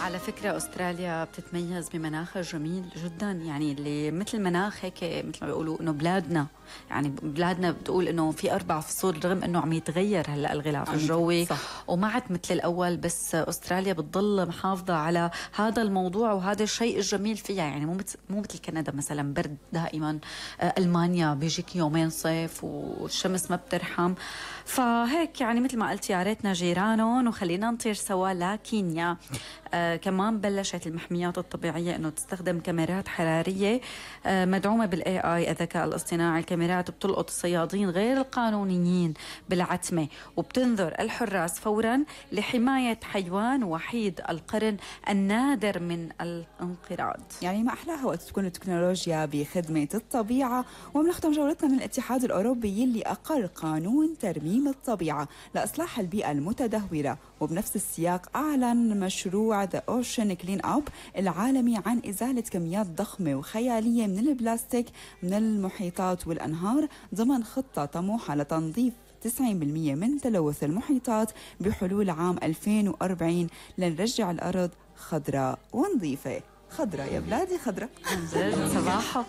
على فكرة أستراليا بتتميز بمناخها جميل جدا، يعني اللي مثل مناخ هيك مثل ما بيقولوا إنه بلادنا، يعني بلادنا بتقول إنه في 4 فصول رغم إنه عم يتغير هلأ الغلاف الجوي وما عاد مثل الأول، بس أستراليا بتضل محافظة على هذا الموضوع وهذا الشيء الجميل فيها. يعني مو مثل كندا مثلا برد دائما، ألمانيا بيجيك يومين صيف والشمس ما بترحم. فهيك يعني مثل ما قلت يا ريتنا جيرانهم وخلينا نطير سوا. لكينيا كمان بلشت المحميات الطبيعية انه تستخدم كاميرات حرارية مدعومة بالاي اي الذكاء الاصطناعي. الكاميرات بتلقط الصيادين غير القانونيين بالعتمة وبتنذر الحراس فورا لحماية حيوان وحيد القرن النادر من الانقراض. يعني ما أحلاها وقت تكون التكنولوجيا بخدمة الطبيعة. وبنختم جولتنا من الاتحاد الأوروبي اللي أقر قانون ترميم الطبيعة لإصلاح البيئة المتدهورة، وبنفس السياق أعلن مشروع The Ocean Clean Up العالمي عن إزالة كميات ضخمة وخيالية من البلاستيك من المحيطات والأنهار ضمن خطة طموحة لتنظيف 90% من تلوث المحيطات بحلول عام 2040 لنرجع الأرض خضراء ونظيفة. خضراء يا بلادي خضراء. صباحو.